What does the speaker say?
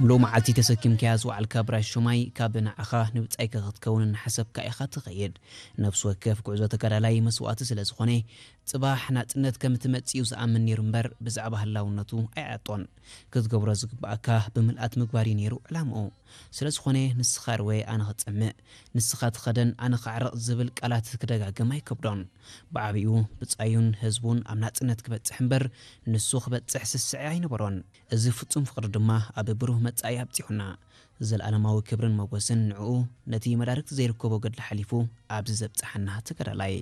ምሉእ መዓልቲ ተሰኪምካያ ዝወዓልካ ብራሽ ሹማይ፣ ካብ ንዓኻ ንብጻይካ ክትከውን እናሓሰብካ ኢኻ ትኸይድ። ነፍሲ ወከፍ ጉዕዞ ተጋዳላይ መስዋእቲ ስለ ዝኾነ፣ ጽባሕ ናጽነት ከም ትመጽእ እዩ ዝኣምን ነይሩ እምበር፣ ብዛዕባ ህላውነቱ ኣይዓጦን። ክትገብሮ ዝግብኣካ ብምልኣት ምግባር እዩ ነይሩ ዕላምኡ። ስለ ዝኾነ፣ ንስኻ ርወ ኣነ ክጸምእ፣ ንስኻ ትኸደን ኣነ ክዓርቕ ዝብል ቃላት ክደጋግም ኣይከብዶን። ብዓቢኡ ብጻዩን ህዝቡን ኣብ ናጽነት ክበጽሕ እምበር፣ ንሱ ክበጽሕ ስስዐ ኣይነበሮን። እዚ ፍጹም ፍቕሪ ድማ ኣብ ብሩህ መጻኢ ኣብጺሑና። ዘለኣለማዊ ክብርን ሞገስን ንዕኡ፣ ነቲ መዳርግቲ ዘይርከቦ ገድሊ ሓሊፉ ኣብዚ ዘብጽሓና ተጋዳላይ።